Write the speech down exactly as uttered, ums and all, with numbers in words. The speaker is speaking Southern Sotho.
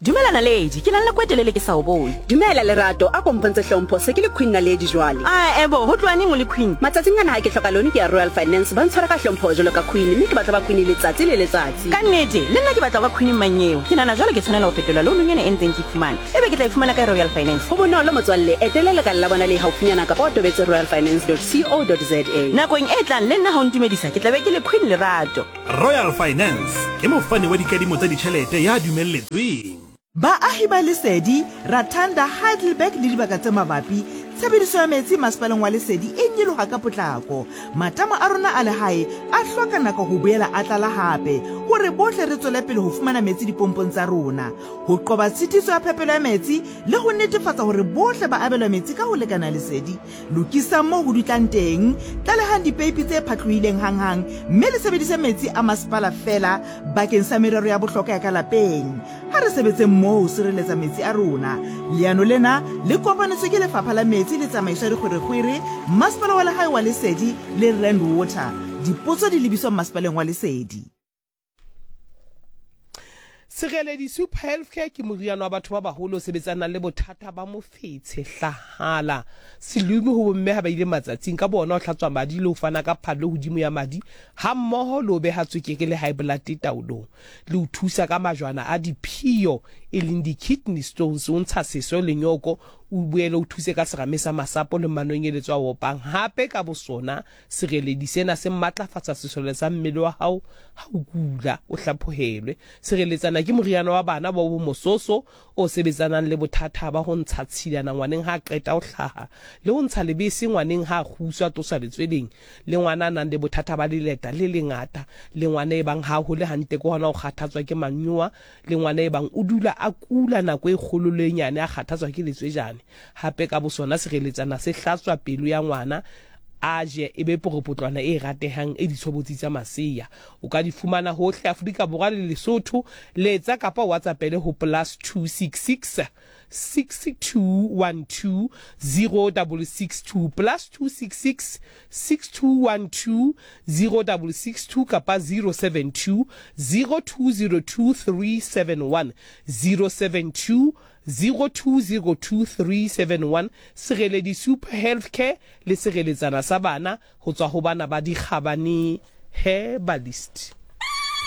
Dumela Naledi, ke na le nako e telele ke sa o bone. Dumela Lerato, a ko mpontshe hlompho, se ke le Queen Naledi jwale. Ah, ebo, ho tloha neng o le Queen? Matsatsing ana ha ke hloka loan ke ya Royal Finance, ba ntshwara ka hlompho jwalo ka Queen, mme ke batla ba Queen letsatsi le letsatsi. Ka nnete, le nna ke batla ho ba Queen mmanyeo. Ke nahana jwale ke tshwanela ho fetola loan ena e ntseng ke fumana. Ebe ke tla e fumana kae Royal Finance? Ho bonolo motswalle, etela lekala la bona le haufinyana kapa o tobetse royalfinance dot co dot za. Nakong e tlang le nna ha o ntumedisa, ke tla be ke le Queen Lerato. Royal Finance ke mofani wa dikadimo tsa ditjhelete ya dumelletsweng. Baahi ba Lesedi, Ratanda, Heidelberg le dibaka tse mabapi, tshebediso ya metsi masepaleng wa Lesedi e nyoloha ka potlako. Matamo a rona a lehae a hloka nako ho boela a tlala hape hore bohle re tswele pele ho fumana metsi dipompong tsa rona. Ho qoba tshitiso ya phepelo ya metsi le ho netefatsa hore bohle ba abelwa metsi ka ho lekana Lesedi, lokisang moo ho dutlang teng, tlalehang dipeipi tse phatlohileng hanghang, mme le sebedise metsi a masepala feela bakeng sa merero ya bohlokwa ya ka lapeng. Ha re sebetseng mmoho ho sireletsa metsi a rona. Leano lena le kopanetswe ke Lefapha la Metsi le Tsamaiso ya Dikgwerekgwere, Masepala wa Lehae wa Lesedi le Rand Water. Dipotso di lebiswa Masepaleng wa Lesedi. Sereledi Super Healthcare ke moriana wa batho ba baholo o sebetsanang le bothata ba mofetshe, hlahala, selume ho bomme ha ba ile matsatsing, ka bona ho hlatswa madi le ho fana ka phallo hodimo ya madi hammoho le ho beha tswekere le high blood taolong, le ho thusa ka majwana a diphio e leng di-kidney stones, o ntsha seso le nyoko, o boele o thuse ka serame sa masapo le manonyeletso a opang. Hape ka bosona sereledi sena se matlafatsa sesole sa mmele wa hao ha o kula o hlaphohelwe. Sireletsana ke moriana wa bana ba bo mososo o sebetsanang le bothata ba ho ntsha tshilana ngwaneng ha a qeta ho hlaha, le ho ntsha lebese ngwaneng ha a kguswa tloswa letsweleng, le ngwana a nang le bothata ba leleta le lengata, le ngwana e bang ha a hole hantle ke hona ho kgathatswa ke manyowa, le ngwana e bang o dula a kula nako e kgolo le e nyane a kgathatswa ke letswejane. Hape ka bosona sireletsana se hlatswa pelo ya ngwana, a je e be poropotlwana e ratehang e ditshobotsi tsa masea. O ka di fumana hohle Afrika Borwa le Lesotho. Letsa kapa WhatsAppele ho plus two six six six two one two zero six six two, plus two six six six two one two zero six six two kapa zero seven two zero two zero two three seven one, zero seven two zero two zero two three seven one. Sereledi Super Healthcare le sireletsana sa bana ho tswa ho bana ba Dikgabane Herbalist.